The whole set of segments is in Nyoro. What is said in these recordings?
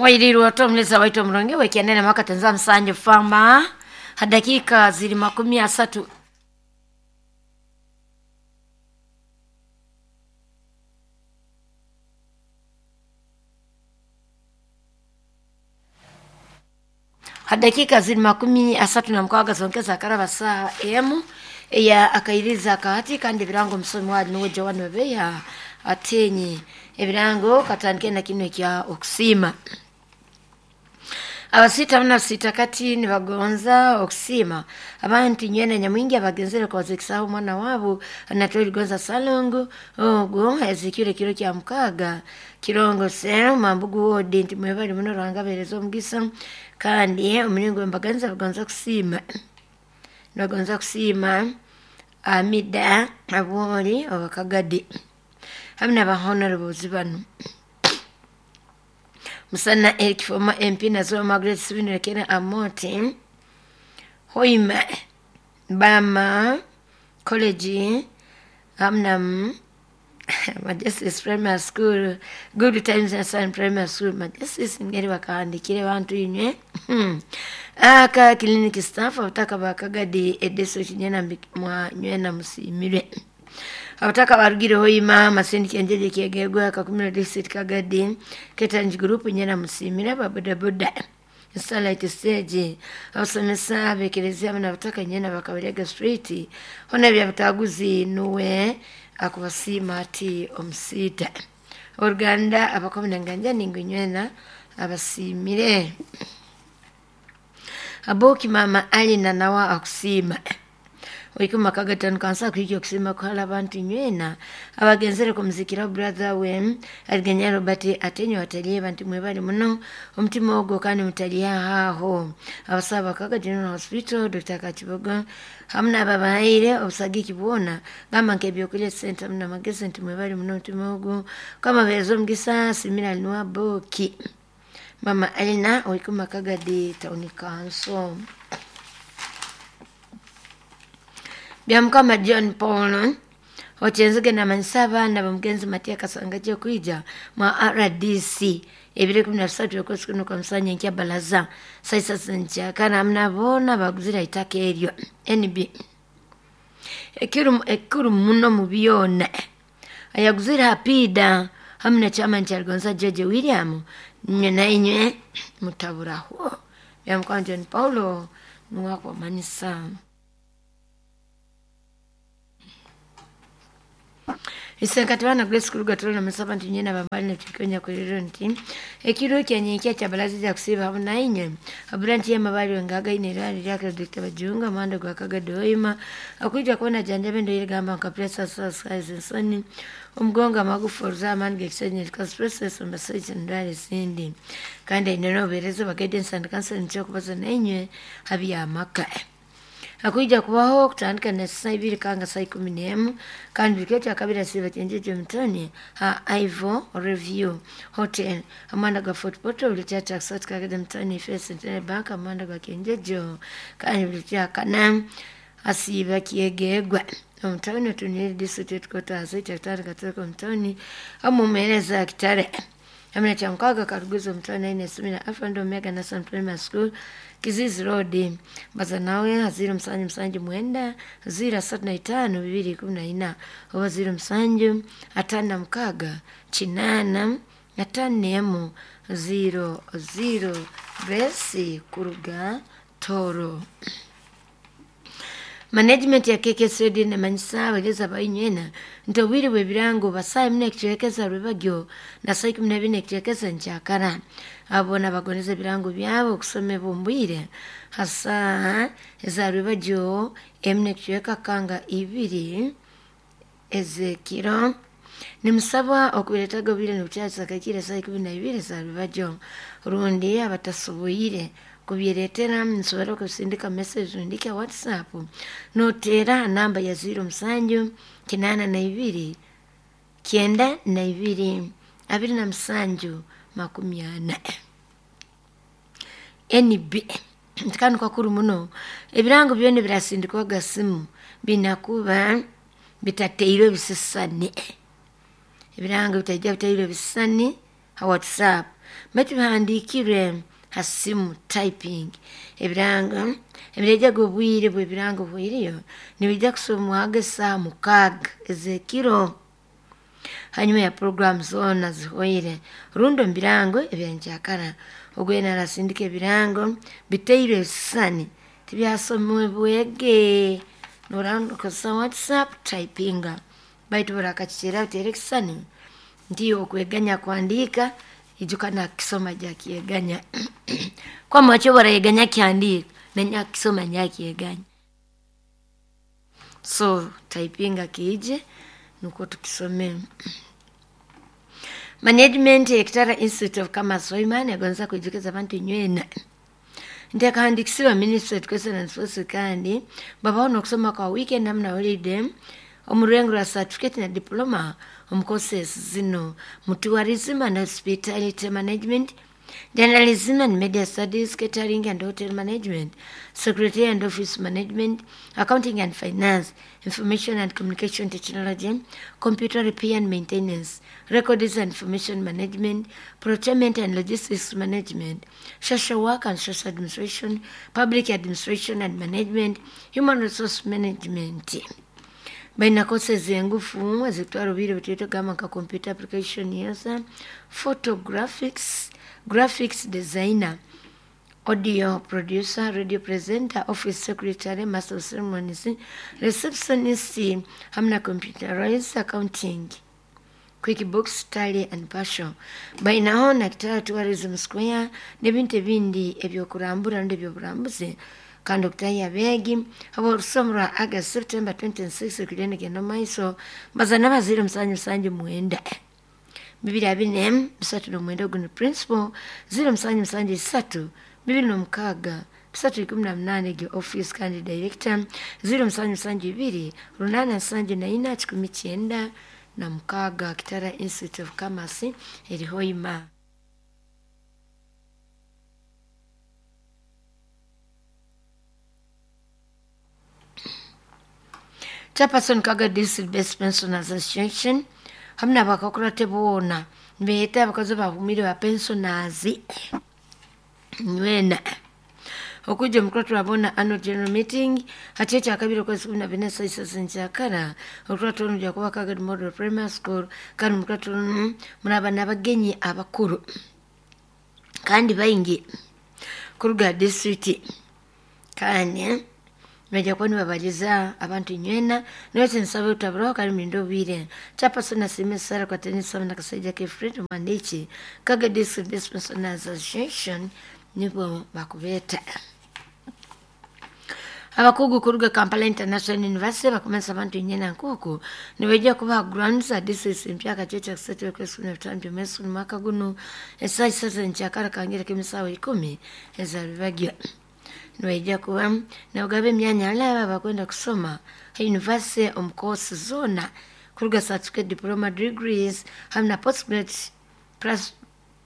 Wailirwa otomuleza waitu omurungi wekianene mwaka tenza msanju fama hadakika zili 30. Hadakika zili 36 zongeza karaba saa emu eya akairiza akahati kandi ebirango omusomi wali nuwe Joan Webeya atenye ebirango katandike na kino ekya okusima. Abasita muna sita kati nibagonza okusima abantu nywena nyamwingi abagenzere kwazekisaho omwana wabo anatoli gonza salongo ogwo ezikire kiro kya mukaga kirongo sero mambugu wodi nti mwebali muno Ruhanga abahereza omugisa kandi omulingo mbaganza bagonza kusima nibagonza kusiima Amida Abwoli Owakagadi hamu naba honorables bano Musana Eric former MP Nazoa Margaret Sibinrekera Amote Hoima Bama College hamu Majesties Primary School Good Times and Sun Primary School Majesties ngeri bakahandikire bantu inywe aka clinic staff abataka bakagadi edeso kinyena mwa nywena musimire abataka barugire hoima Masindi Kenjeje Kyegegwa Kakumiro District Kagadi Ketanji Group nyena musimire babodaboda Starlight Stage abasomesa abekerezia n'abataka nyena bakabarega street hona byabutaguzi nuwe akubasiima ati omusita oruganda abakomina nganja ningu nywena abasimire aboki mama Alina nawa akusima oikuma kagatano kansa kuhikya okusima kuhala abantu nywena abagenzere kumuzikira brother we aligenya Robert atenyo ataliye bantu mwebali muno omutima ogwo kandi mutaliye aho abasaba Kaga General Hospital Dr. Kachibogo hamu n'ababahaire obusagiki bwona gamba nk'ebyokulya sente hamu n'amagezi nti mwebali muno omutima ogwo kama beereza omugisa simira nuwa boki mama Alina oikuma Kagadi Town Council. Byamukama John Paul okyenzige namanyisa abaana bamugenzi Matia Kasanga kwija mwa RDC ebiro 13 okwezi kuno kwa musanya nkya balaza saisa nkyakana hamuna boona baguzira itaka eryo NB ekuru muno mu byona ayaguzira hapida hamu na chama nkyaligonza George William nywe na inywe mutaburaho. Byamukama John Paulo nuwakubamanisa. Isenkati bana Grace Kuruga tulona masaba nti nyena bambali na tukionya kuliro nti ekiro kya nyenkya kya balazi ja kusiba hamu na inywe abura nti yamabali wengaga ine rali lyake Dr. Bajunga mando gwa Kagadoima akuja kuona janjabe ndo ile gamba nka presa sasa nsoni omugongo amagufa oruzaamani gekisenya expresses omusajja ndwara ezindi kandi ine nobereza ba guidance and counseling kyokubaza na inywe habyamaka akuija kubaho kutandika na saa 2 kanga saa 11 kandi bikyo kya kabiri siba chenjeje mtoni ha Ivo Review Hotel amanda ga Fort Portal ulicha taxat kagede mtoni First Centenary Bank amanda ga kenjejo kandi ulicha kana asiba kiegegwa omutoni tunili district headquarters kyatandika katoko mtoni amumereza kitare amina cha mkaga karuguzo mtoni ine sumina Afando Omega National Primary School Kizizi Road baza nawe 0 7 7 9 0 3 5 2 14 oba 0 7 5 6 8 5 0 0 Grace Kuruga Toro. Management ya KKCD nemanyisa abagezi abainywena nti obwire bw'ebirango basaa 4 ekicwekeza rwebagyo na saa 14 ekicwekeza nkyakara abo nabagoneza ebirango byabo okusoma ombwire hasa eza rwebagyo 4 ekicweka kanga 2 ezekiro nimusaba okubiretaga obwire nibukyakisa kakire saa 12 za rwebagyo rundi abatasoboire kubyeretera nsobora kusindika message ndike WhatsApp notera namba ya 0 7 82 92 27 40 NB kanu kakuru muno ebirango byone birasindikwaga simu binakuba bitateirwe ebisisani ebirango bitajja bitateirwe ebisisani ha WhatsApp. Baitu bihandiikirwe ha simu typing. Ebirango ebirejaga obwire bw'ebirango bwiriyo nibijja kusomwaga esaaha 6 ez'ekiro hanyuma ya puroguramu zoona zihoire rundi omu birango ebyankyakara. Ogwena arasindika ebirango bitairwe ebisisani tibyasomebwege nokozesa WhatsApp typinga baitu oburakakikira oteera ekisisani nti okweganya kuhandiika ijuka nakukisoma akyeganya. Kwamaki obu orayeganya kukihandiika nanyakukisoma nakyeganya. So typinga kiije nukwo tukisome. Management Ekitara Institute of Commerce Hoima negonza kwijukiza abantu inywena nti akahandikisibwa Ministry of Education and Sports kandi babaho n'okusoma kwa weekend hamu na holiday omu rurengo rwa certificate na diploma omu courses zino mu tourism and hospitality management, journalism and media studies, catering and hotel management, secretary and office management, accounting and finance, information and communication technology, computer repair and maintenance, records and information management, procurement and logistics management, social work and social administration, public administration and management, human resource management. Baina courses engufu ezitwara obwire butito gamba nka computer application user, photographics, graphics designer, audio producer, radio presenter, office secretary, master of ceremonies, receptionist, hamwe na computerized accounting, QuickBooks, Tally and Passion. Bainaho na Kitara Tourism Square n'ebintu ebindi ebyokurambura rundi ebyoburambuzi kandi okutahya abeegi orusomo rwa August September 26 kugenda genda omu maiso baza n'abazaire 779 2 439 ogu ni principal 0773 26 318 egyo office kandi director 0772 874 196 Kitara Institute of Commerce eri Hoima. Chairperson Kaga District Best Pensioners Association hamwe n'abakakurate boona nibeeta abakozi bahumire ba pensioners nywena okujja omukura turabona annual general meeting hati ekyakabiri okwezi 14 saa isatu nkyakara okura turabona kuba Kaga Model Primary School kandi omukura turabona muraba n'abagenyi abakuru kandi baingi kuruga district kandi bajja kuba nibabaliza abantu nywena niwete nsaba obutaburaho kandi mulinde obwire. Chairperson asiime Sarah Kwatenisa na Kasaija ke Fred Omwandiiki Kaga District Best Pensioners Association nibo bakubeeta. Abakugu kuruga Kampala International University bakumanyisa abantu nywena nkuku nibaija kubaha grants za district empya akacweca kisatu okwezi 15 by'omwezi guno mwaka guno esaaha isatu nkyakara kangire k'emisaawa 10 ezarubagyo. Nibaija kuba nabagaba emyanya alaba bakwenda kusoma ha university omu course zoona kuruga certificate, diploma, degrees hamwe na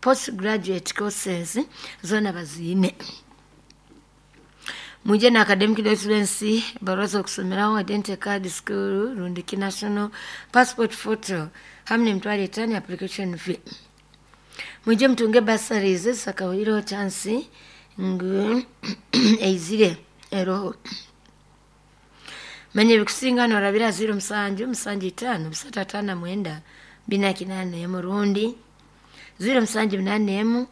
postgraduate courses zoona baziine. Mwije na academic documents, barua z'okusomeraho, identity card, school rundi ki national passport photo hamwe n'emitwaro 5 application fee. Mwije mutunge bursaries sakahwire chance ngu eizire eroho. Manya ebikusinga norabira 07 75 359 481 rundi 0781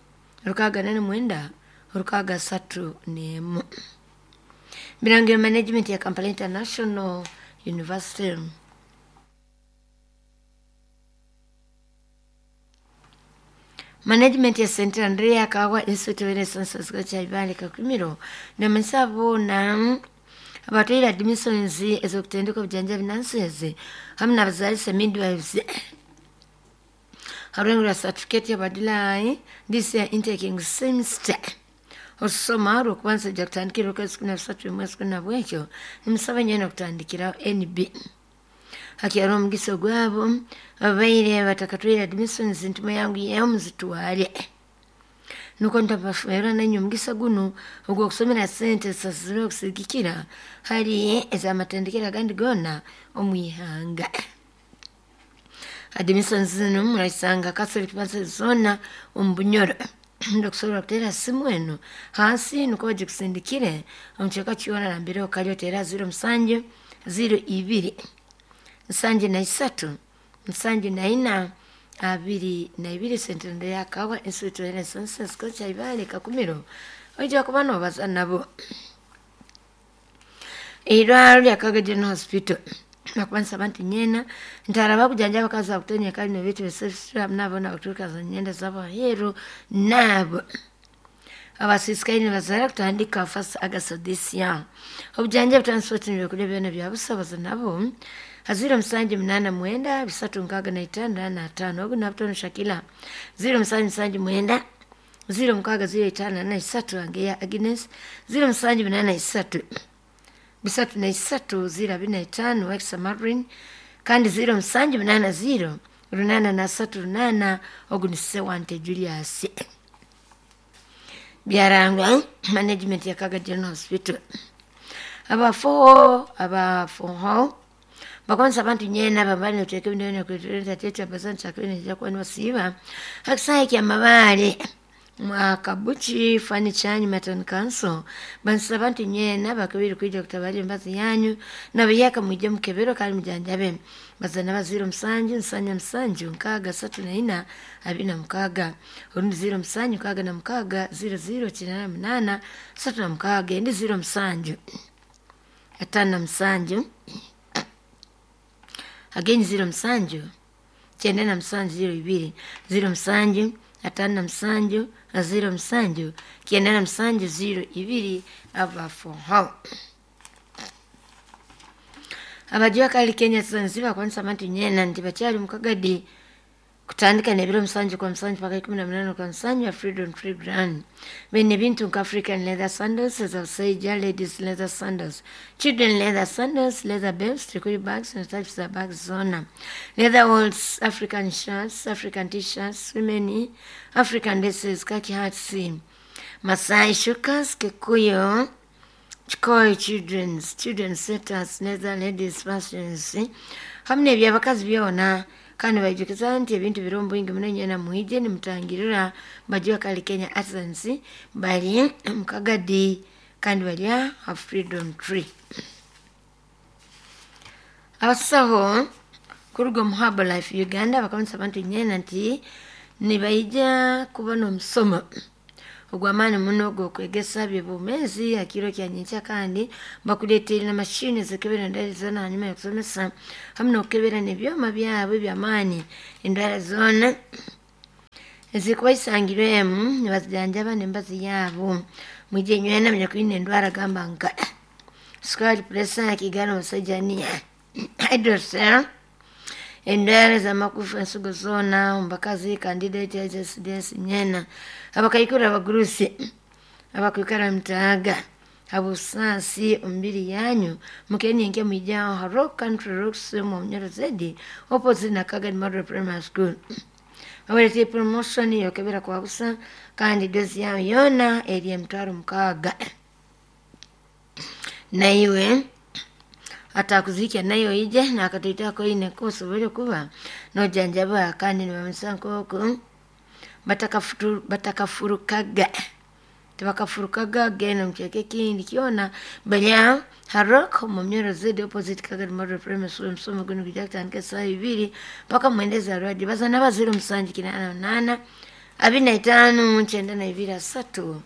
689 631. Birango management ya Kampala International University. Management ya St. Andrea Kawa Institute of Renaissance Culture Ibale Kakumiro namanyisa boona abatwaire admissions ez'okutendeka obujanjabi nurses hamwe n'abazaalisa midwives harurengo rwa certificate y'abadilai this year intaking semester olusoma rw'okubanza ojja kutandikira okwezi 13 mwezi 11 nimusaba nyena okutandikiraho NB. Hakyari omugisa gwabo ababaire batakatwaire admissions ntuma yangu yeho muzitware nuko ntabafera nanyu omugisa guno ogw'okusomera sente zisasizirwe okusigikira hari ez'amatendekero agandi goona omu ihanga. Admission zinu muraisanga Catholic Masses zona omu Bunyoro. Ndokusobola kuteera simu eno hansi nukwo bagikusindikire omu kicweka kyona nambere okali, oteera 07 02 73 74 22. Sentendo yakawa Institute of Sciences kocha Ibale Kakumiro, oija kuba nobaza nabo. Eirwaro lya Kaga General Hospital bakubanisa abantu nyena ntara bakujanja abakazi bakutonya kali nebitu nabo nabakuturuka nyenda z'abaheru nabo abasisikaire nibazara kutandika 1 August this year. Obujanja transport nibyokulya byona bya busabaza nabo 0789 365 5. Ogu nabutono Shakila 0779 06 05 3 Angeya Agnes 0783 3 3 0 25 Wexa Marin kandi 0780 8 3 8. Ogu ni Sewante Julius. Byarangwa management ya Kaga General Hospital. Abafoho abafoho bakonsa abantu nyena bambali noteka ebintu kuleteleza tetu abazani chakini jakuwa niwasiba hakisaye kya mabale mwakabuchi furniture matan council bansa abantu nyena bakabiri kwija kutabali embazi yanyu nabiyaka mwije mukebero kali mujanjabe bazana baziro 7 7 7 6 3 4 26 orundi 0 7 6 6 0 0 98 3 6 endi 0 7 5 7 again 0 7 97 02 0 7 5 7 0 7 97 02. Abafoho abajua kali Kenya Zanzibar kwanza abantu nyena nti bakyali mukagadi kutandika nebiro 7 kwa 7 paka 18 kwa 7 ya Freedom Free Grand. Bene bintu nka African leather sandals ez'abasajja, ladies leather sandals, children leather sandals, leather belts, tricot bags and types za bags zona, leather walls, African shirts, African t-shirts, women African dresses, khaki hats, Masai shukas, Kikuyu, Chikoi children's children's setters, leather ladies fashions hamwe n'ebyabakazi byona. Kandi baijukiza nti ebintu biri omu bwingi muno, nyena mwije nimutangirira bajua kali Kenya Artisans bali mukagadi kandi balya a Freedom Tree. Abasaho kuruga omu Herbalife Uganda bakamanyisa abantu nyena nti nibaija kuba n'omusomo ogw'amaani muno ogw'okwegesa by'obwomeezi hakiro kya nyenkya, kandi bakuleeteire na mashini ezikebera endwara zoona hanyuma y'okusomesa hamu n'okukebera n'ebyoma byabo eby'amaani endwara zoona ezikuba isangirwemu nibazijanjaba n'embazi yaabo. Mwije nywena munyakwine endwara gamba nka sukari, pressure, kigano, musajja, hydrocele, endwara z'amagufa, ensigo zoona omu bakazi, candidate HSDS nyena abakaikuru, abagurusi abakwikara mutaaga abusaasi omubiri yanyu mukenyenke mwijaho ha Rock Country Rocks mu Munyoro Zedi opposite na Kagadi Model Primary School. Babaletire promotion yokebera kwa busa kandi dozi yawe yona eri 60,000. Naiwe atakuzikya nayo ije nakatoitako ine kosobole kuba nojanjaba kandi nibamanyisa nk'oku batakafurukaga tebakafurukaga genda mukyeka ekindi kyona balya Harok mu Munyoro Zedi opposite Kagadi Model Primary School. Omusomo guno gujja kutandika esaawa 2 paka 9 za rwadi. Bazana ba 0 7 88 25 92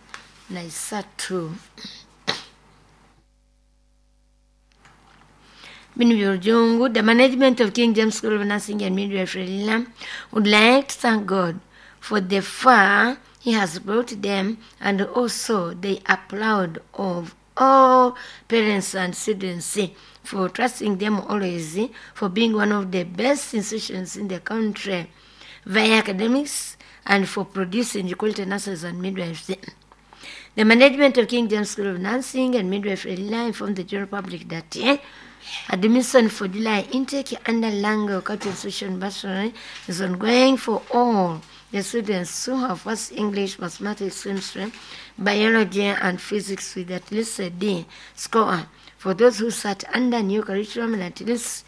33. Binu Byolujungu, the management of King James School of Nursing and Midwifery would like to thank God for the far he has brought them, and also they are proud of all parents and students for trusting them always, for being one of the best institutions in the country via academics and for producing quality nurses and midwives. The management of King James School of Nursing and Midwifery informed the general public that admission for July intake under Lango Cultural Institution Bursary is ongoing for all the students who have first English, mathematics, chemistry, biology, and physics with at least a D score. For those who sat under new curriculum and at least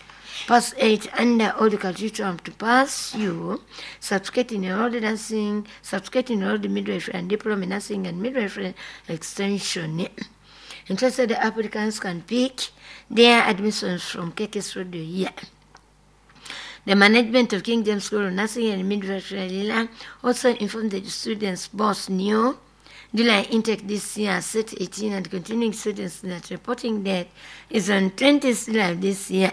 Pass 8 under all the curriculum to pass you certificate in enrolled nursing, certificate in enrolled midwifery and diploma in nursing and midwifery extension. Interested applicants can pick their admissions from KKS Radio here. The management of King James School of Nursing and Midwifery Lila also informed the students both new July intake this year, set 18, and continuing students that reporting date is on 20th July this year.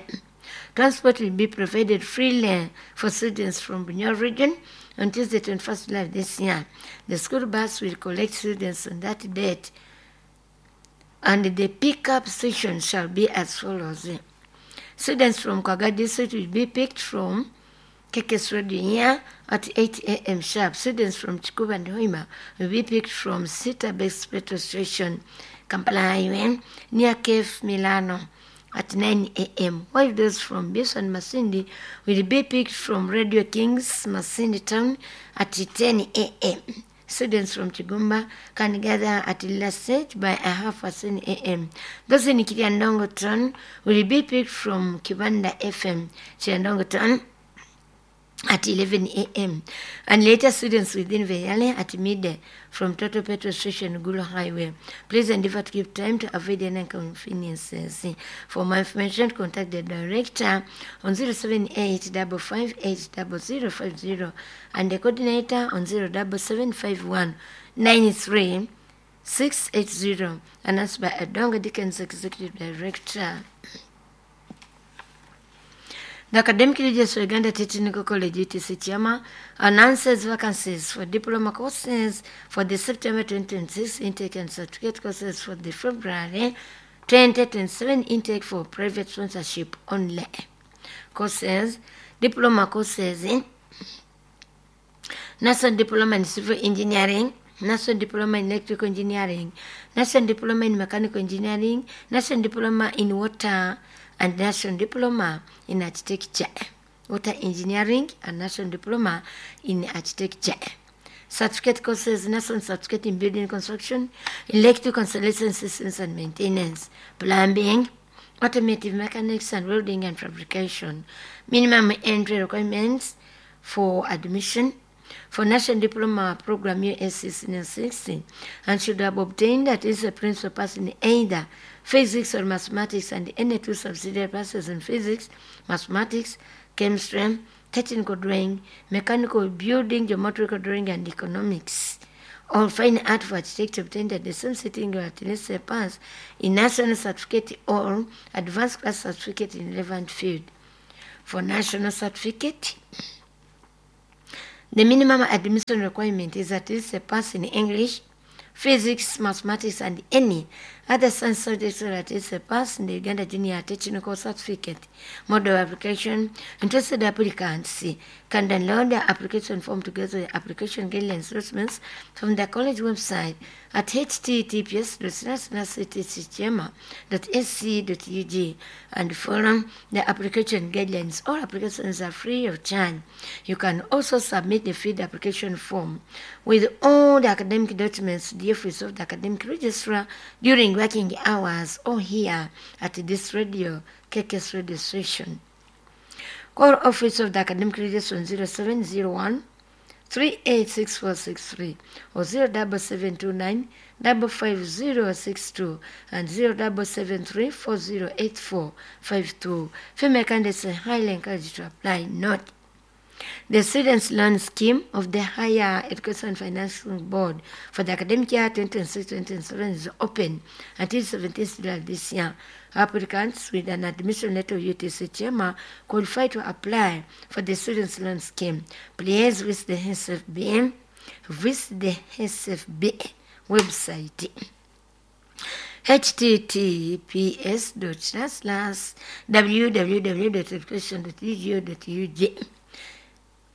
Transport will be provided freely for students from Bunyoro region on Tuesday, 21st July this year. The school bus will collect students on that date, and the pickup station shall be as follows. Students from Kwaga district will be picked from KKS Radio here at 8 a.m. sharp. Students from Chikuba and Hoima will be picked from Sita Base Petrol Station, Kampala Highway, near Cafe Milano at 9 a.m. While those from Biso and Masindi will be picked from Radio Kings, Masindi Town at 10 a.m. Students from Chigumba can gather at Lila Stage by 10:30 a.m. Those in Kiryandongo Town will be picked from Kibanda FM, Kiryandongo Town at 11 a.m. and later students within Veyale at midday from Total Petrol Station, Gulu Highway. Please endeavor to keep time to avoid any inconveniences. For more information, contact the director on 078 558 0050 and the coordinator on 07751 93 680, announced by Adonga Dickens, Executive Director. The Academic Leaders for Uganda Technical College, UTC Chiama, announces vacancies for diploma courses for the September 2026 intake and certificate courses for the February 2027 intake for private sponsorship only. Courses, diploma courses in National Diploma in Civil Engineering, National Diploma in Electrical Engineering, National Diploma in Mechanical Engineering, National Diploma in Water and National Diploma in Architecture, Water Engineering and National Diploma in Architecture. Certificate courses, National Certificate in Building Construction, Electrical Installation Systems and Maintenance, Plumbing, Automotive Mechanics and Welding and Fabrication. Minimum entry requirements for admission for National Diploma Program USC Senior 60 and should have obtained at least a principal pass in either physics or mathematics and any two subsidiary passes in physics, mathematics, chemistry, technical drawing, mechanical building, geometrical drawing, and economics. Or fine art for architecture obtained at the same sitting or at least a pass in national certificate or advanced class certificate in relevant field. For national certificate, the minimum admission requirement is at least a pass in English, physics, mathematics, and any other science subjects or at least a pass in the Uganda Junior Technical Certificate. Model application. Interested applicants can download the application form together with application guidelines documents from the college website at https://ctcchema.sc.ug and follow the application guidelines. All applications are free of charge. You can also submit the filled application form with all the academic documents to the office of the academic registrar during working hours or here at this radio, KKS radio station. Call office of the academic registrar on 0701 386463 or 07729 55062 and 0773 408452. Female candidates are highly encouraged to apply. Note: the Students' Loan Scheme of the Higher Education Financing Board for the academic year 2026-2027 is open until 17th July this year. Applicants with an admission letter of UTC Chema qualify to apply for the Students' Loan Scheme. Please visit the SFB website https://www.education.edu.ug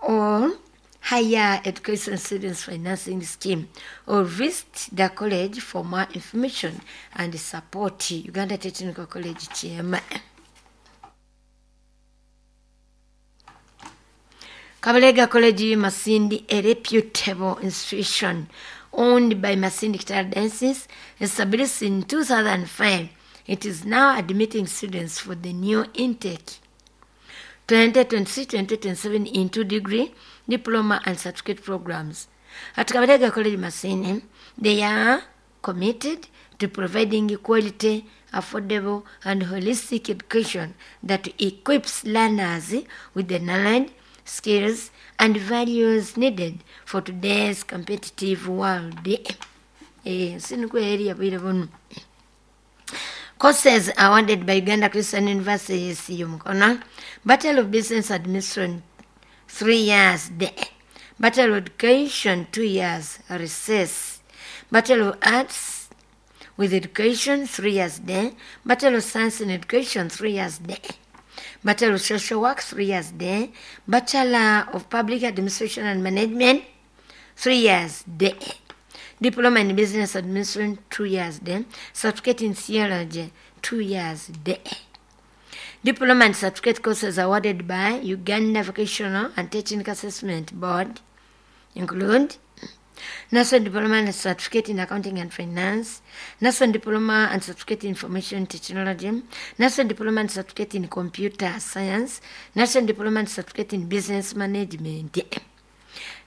or Higher Education Students Financing Scheme, or visit the college for more information and support. Uganda Technical College Chairman. Kabalega College Masindi, a reputable institution owned by Masindi Kitara Diocese, established in 2005. It is now admitting students for the new intake. 2026-2027 in 2 degree, diploma and certificate programs. At Kabalega College Masindi, they are committed to providing quality, affordable, and holistic education that equips learners with the knowledge, skills, and values needed for today's competitive world. Sinukweri bwire bunu. Courses awarded by Uganda Christian University ACU Mukono. Bachelor of Business Administration, 3 years day. Bachelor of Education, 2 years recess. Bachelor of Arts with Education, 3 years day. Bachelor of Science in Education, 3 years day. Bachelor of Social Work, 3 years day. Bachelor of Public Administration and Management, 3 years day. Diploma in Business Administration, 2 years day. Certificate in Theology, 2 years day. Diploma and certificate courses awarded by Uganda Vocational and Technical Assessment Board include National Diploma and Certificate in Accounting and Finance, National Diploma and Certificate in Information Technology, National Diploma and Certificate in Computer Science, National Diploma and Certificate in Business Management,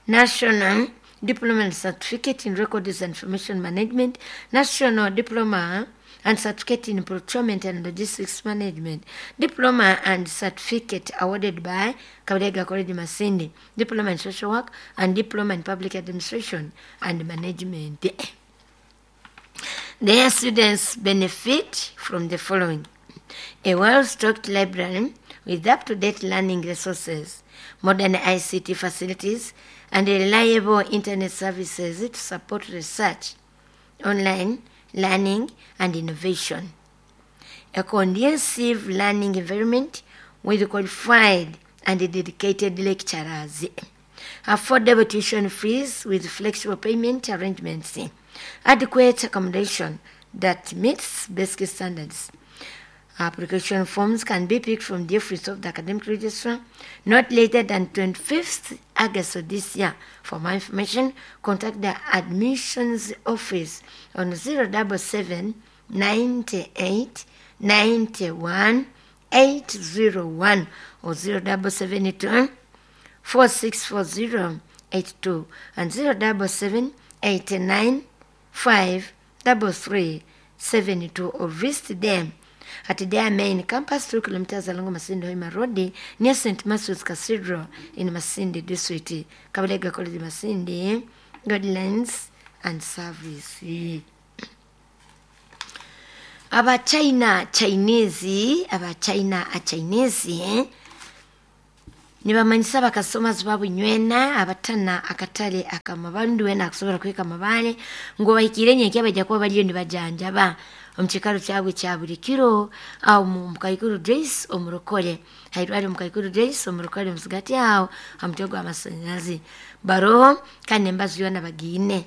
National Diploma and Certificate in Records and Information Management, National Diploma and Certificate in Procurement and Logistics Management, Diploma and Certificate awarded by Kabalega College Masindi, Diploma in Social Work, and Diploma in Public Administration and Management. Their students benefit from the following: a well-stocked library with up-to-date learning resources, modern ICT facilities, and reliable internet services to support research, online learning, and innovation. A conducive learning environment with qualified and dedicated lecturers. Affordable tuition fees with flexible payment arrangements. Adequate accommodation that meets basic standards. Application forms can be picked from the office of the academic registrar not later than 25th August of this year. For more information, contact the admissions office on 077 98 91 801 or 0772 464082 and 077 89 533 72 or visit them at their main campus, 2 kilometers along Masindi Hoima Road, near St. Matthew's Cathedral in Masindi District. Kabalega College Masindi, Guidelines and Service. Abachina Chinese, Abachina a Chinese, nibamanyisa abakasomazi babunywena abatana akatale akamabandu wena akusobola kweka amabale ngo bahikire nyenkya bajja kuba baliyo nibajanjaba omu kikaro kyabwe kya buli kiro awo mukaikuru Joyce omurokole hairwari mukaikuru Joyce omurokole muzigati awo hamutwe gw'amasanyalazi baroho kandi embazi yoona bagiine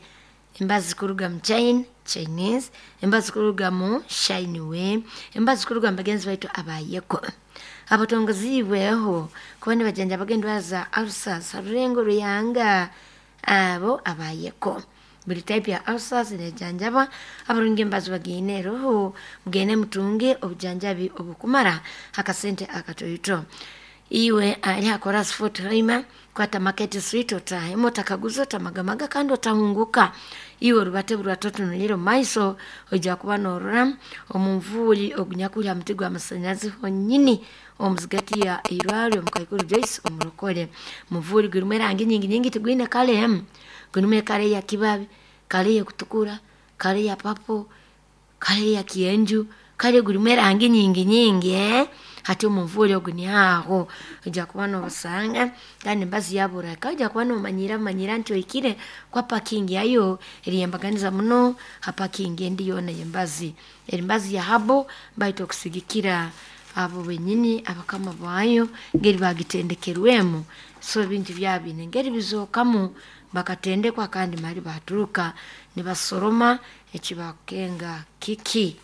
embazi kuruga mu China Chinese, embazi kuruga mu Shinwe, embazi kuruga mu bagenzi baitu abayeko abatongozibweho kuba nibajanjaba endwara za ulcers harurengo ruyanga abo abayeko buli type ya ulcers nejanjaba abarungi embazi bagiine roho mugende mutunge obujanjabi obukumara akasente akatoito. Iwe ali hakora Fort Hoima kwata Market Street otahemo otakaguza otamagamaga kandi otahunguka. Iwe rubate burwatotunulire omu maiso ojja kuba norora omunvuuri ogunyakuri ha muti gw'amasanyalazi honyini omuzigati ya irwariro omukaikuru Joyce omurokole. Muvuuri gurimu erangi nyingi nyingi tigwine kale emu, gurimu ekara eya kibabi, kale ey'okutukura, kale eya papo, kale eya kyenju, kale gurimu erangi nyingi nyingi. Hati omunvuuri ogu niaho ojja kuba nobasanga kandi embazi yaburaka ojja kuba nomanyira manyira nti oikire kwa parking yayo eriyembaganiza muno ha parking endi yoona y'embazi. Embazi ya habo baitu okusigikira abo benyini abakama baayo ngeri bagitendekerwemu, so ebintu byabine ngeri bizookamu bakatendekwa kandi mali baturuka nibasoroma ekibakukenga kiki.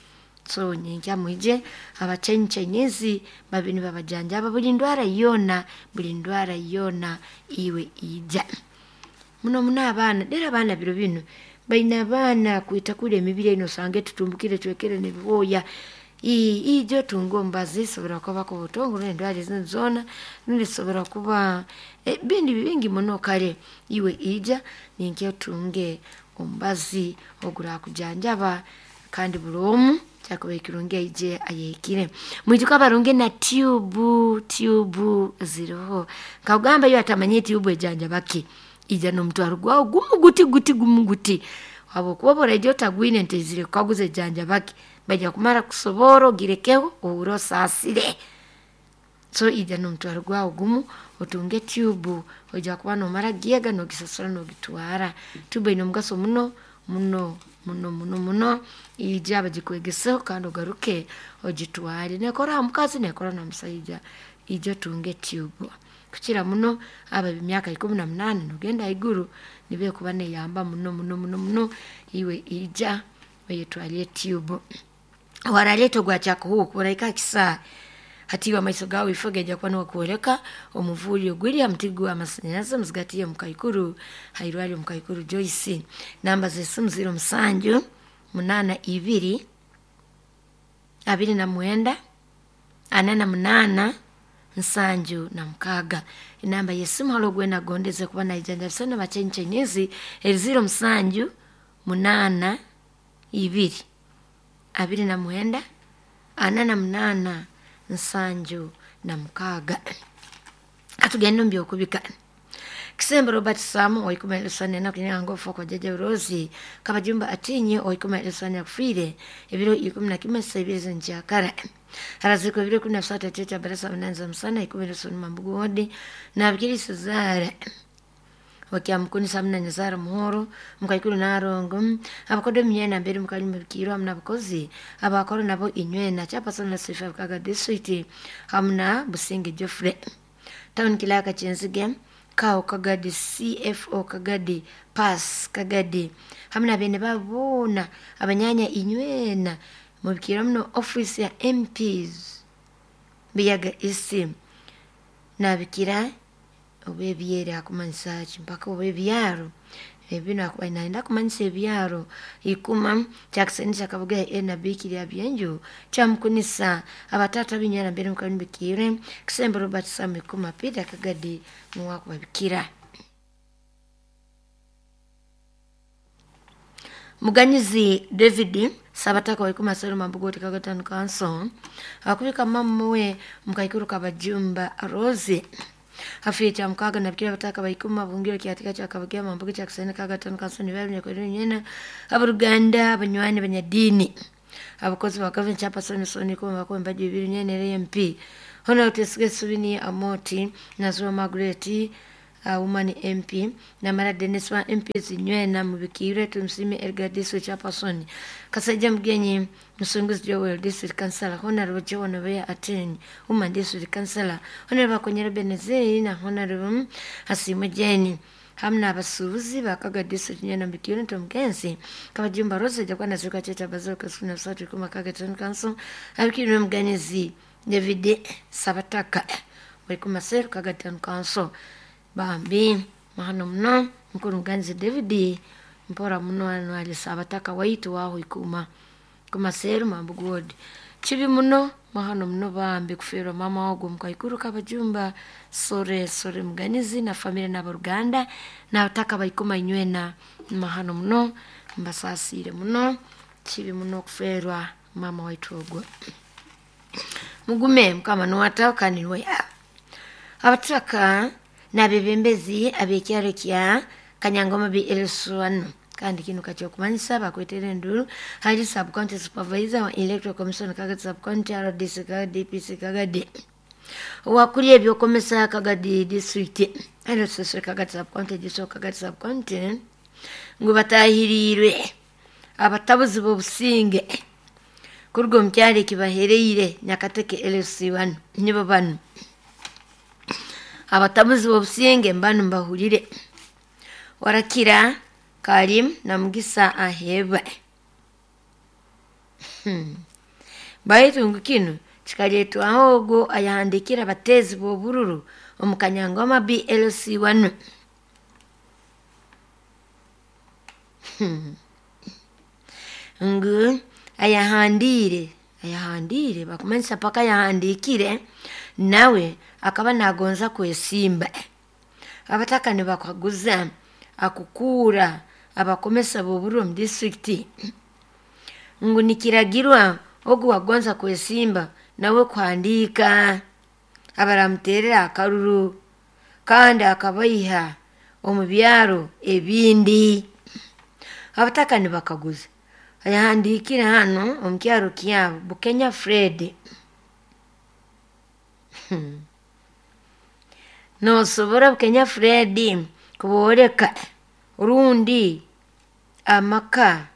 So nyenkya mwije abachenchenyezi babi nibabajanjaba buli ndwara yoona, buli ndwara yoona iwe ija. Muno muno abaana, dera abaana biro binu baine abaana kwita kule emibiri eno osanga etutumbukire twekere n'ebibooya. Ijo otunge omubazi isobora kuba kubutongo rundi endwara ezindi zoona, rundi isobora kuba bindi bingi muno. Kale iwe ija ninkyo otunge omubazi ogurakujanjaba, kandi buli omu kyakubaire kirungi aije ayehikire. Mwijuke abarungi na tube, tube ziroho. Nkakugamba iwe atamanyire tube ejanjaba ki, ija n'omutwaro gwawe gumu guti guti gumu guti, habwokuba obu oraija otagwine ntaizire kukaguza ejanjaba ki, baija kumara kusoborra ogirekeho ohuurre osaasire. So ija n'omutwaro gwawe gumu otunge tube, oija kuba nomara kugyega nogisasura nogitwara. Tube eine omugaso muno muno muno muno muno, ija bagikwegeseho kandi ogaruke ogitware. Nekora ha mukazi nekora na ha musaija, ija otunge tube. Kukira muno abo ab'emyaka 18 nogenda haiguru nibo ekuba neyamba muno muno muno muno, iwe ija oyetwarire tube. Waraleeta ogwa kyakuhuuka oraika ha kisaayi, hati iwe amaiso gaawe ifo gaija kuba nigakwoleka omuvuuri oguli ha muti gw'amasanyarazi muzigati y'omukaikuru hairwarro omukaikuru Joyce. Namba z'esimu 07 82 29 48 76. Enamba y'esimu haroho ogu weena akugondeze kuba naijanjabisa n'aba Chinese eri 07 82 29 48 76. Katugende omu by'okubika. Kisembo Robert Sam oikumi elusana kunyanga ofa kwa Jjajja Rose Kabajumba Atinye oikumi elusana yakufiire ebiro 11 saa ibiri z'enkyakara. Harazikwa ebiro 13 kyekya barasa munani za musana ikumi elusana Mambugu wodi nabikiri Suzara wakyamukunisa hamuna Nyazaara Muhoro mukaikuru Narongo abakodo emyena mbere mukali mubikirwa hamuna abakozi abakora nabo inywena chairperson na Sifa Kaga district hamuna Businge Geoffrey town Kilaka Kyenzige Kao Kagadi CFO Kagadi Pass Kagadi hamuna bene baboona abanyanya inywena mubikirwa muno office ya MPs Biyaga East nabikira obwebyere akumanyisa ki mpaka obwebyaro ebinu akuba nayenda kumanyisa ebyaro ikuma kyakuseni kyakabuga enabiki lya byenju kyamukunisa abatata binyana mbere mukalibikire Kisembo Robert Sam ikuma Peter Kagadi nuwakubabikira. Muganyizi David Sabataka waikuma sero Mambugu Kaga Town Council akubika mamuwe mukaikuru Kabajumba Rose hafi kya mukaga nabikira bataka baikuma bungiro kyatika kya Kabuga Mambugu kya Kiseni Kaga Town Council nibabe nyakweri nyena abaruganda abanywani abanyadini abakozi ba government chairperson soni kuma bakomba mbaji bibiri nyene MP Honorable Tesige Subini Amoti Nazwa Margaret woman MP namara Dennis wa MP zinywena mubikire tumusime Edgar District Chairperson Kasajja Mugenyi Musunguzi Joel District Councilor Honorable Joan Obeya Ateni Woman District Councilor Honorable Bakonyera Benezeri na Honorable Hasimwe Jeni hamna abasuubuzi bakaga district nyena mubikire ntomugenzi Kabajumba Rose jakwana zuka cheta bazoka suna satu kuma Kaga Town Council abikire Muganyizi David Sabataka bali kumaseru Kaga Town Council. Bambi mahano muno mukuru Muganyizi David mpora muno ano ali Sabataka waitu waho ikuma kumaseru Mambugu ward. Kibi muno mahano muno bambi kufiirwa mama ogwo mukaikuru Kabajumba. Sore sore Muganyizi na familia n'abaruganda n'abataka baikuma inywena mahano muno mbasasiire muno. Kibi muno okuferwa mama waitu ogwo. Mugume mukama nuwataho kandi niwe abataka n'abebembezi ab'ekyaro kya Kanyangoma BLS1 kandi kinu kakyokumanyisa bakwetera enduru hali sub county supervisor wa electoral commission Kagadi sub county RDC Kagadi DPC Kagadi owakuli ebyokomesa Kagadi district LSS Kagadi sub county district Kagadi sub county ngu batahiriirwe abatabuzi b'obusinge kuruga omu kyaro ekibahereire Nyakateke LC1 nibo banu abatabuzi b'obusinge mbanu mbahurire Warakira Karim na Mugisa Aheba. Baitu ngu kinu kikaletwaho ogwo ayahandikira abatezi b'obururu omu Kanyangoma BLC1. Ngu ayahandiire Ayahandiire bakumanyisa paka yahandiikire nawe akaba naagonza kwesimba. Abataka nibakaguza akukuura abakomesa b'oburo omu disitulikiti ngu nikiragirwa ogu wagonza kwesimba nawe kuhandiika abaramuteerera akaruru kandi akabaiha omu byaro ebindi. Abataka nibakaguza ayahandiikire hanu omu kyaro kyabo Bukenya Fred. Noosobora Bukenya Fred kubooleka rundi amaka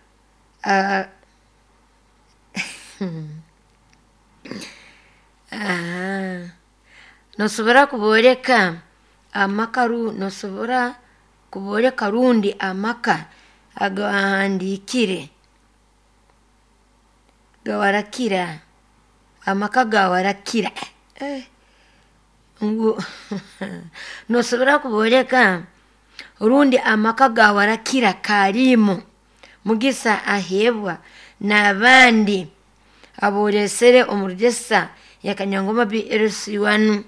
noosobora kubooleka amaka noosobora kubooleka rundi amaka agawahandiikire gawarakira amaka gawarakira ngu noosobora kubooleka rundi amaka gawarakira Kaalimu Mugisa Aheebwa n'abandi abooleesere omu rugesa ya Kanyangoma BLC1.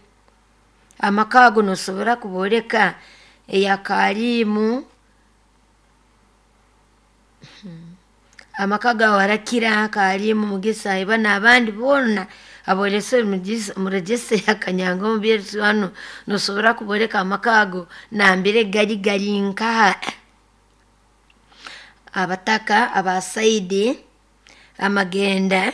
Amaka ago noosobora kubooleka eya Kaalimu amaka gawarakira Kaalimu Mugisa Aheebwa n'abandi boona aboolesere omu rugesa ya Kanyangoma BLC1 noosobora kubooleka amaka ago nambere gari gari nkaha. Abataka aba Saidi amagenda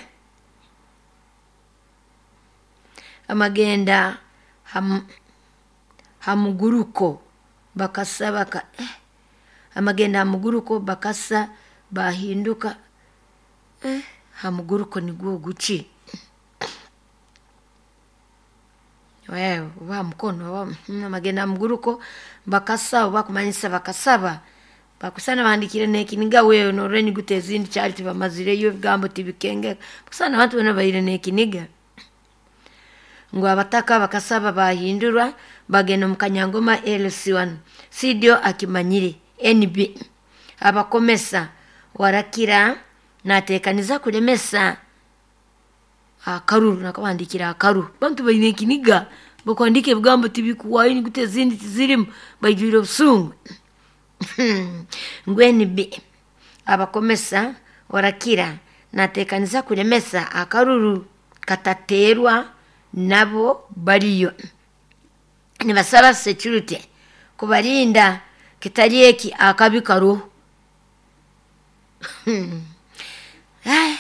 amagenda ha muguruko bakasaba amagenda ha muguruko bakasa bahinduka ha muguruko nigwo guki? Oba ha mukono amagenda ha muguruko bakasa obu bakumanyisa bakasaba bakusana bahandiikire n'ekiniga wewe noorora enyuguta ezindi kyali tibamazireyo ebigambo tibikengeka kusana abantu boona baine n'ekiniga. Ngu abataka bakasaba baahindurwa bagenda omu Kanyangoma LC1. CDO akimanyire NB abakomesa warakira naateekaniza kulemesa akaruru nakabahandiikire akaruru. Abantu baine ekiniga bakuhandiika ebigambo tibikuhwayo enyuguta ezindi tizirimu baijwire obusungu. Ngu NB abakomesa warakira naateekaniza kulemesa akaruru katateerwa nabo bariyo. Nibasaba security kubarinda kitari eki akabi karoho.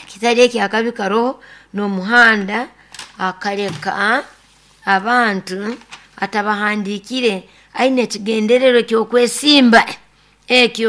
Kitari eki akabi karoho n'omuhanda akaleka abantu atabahandiikire aine ekigendererwa eky'okwesimba ekyo.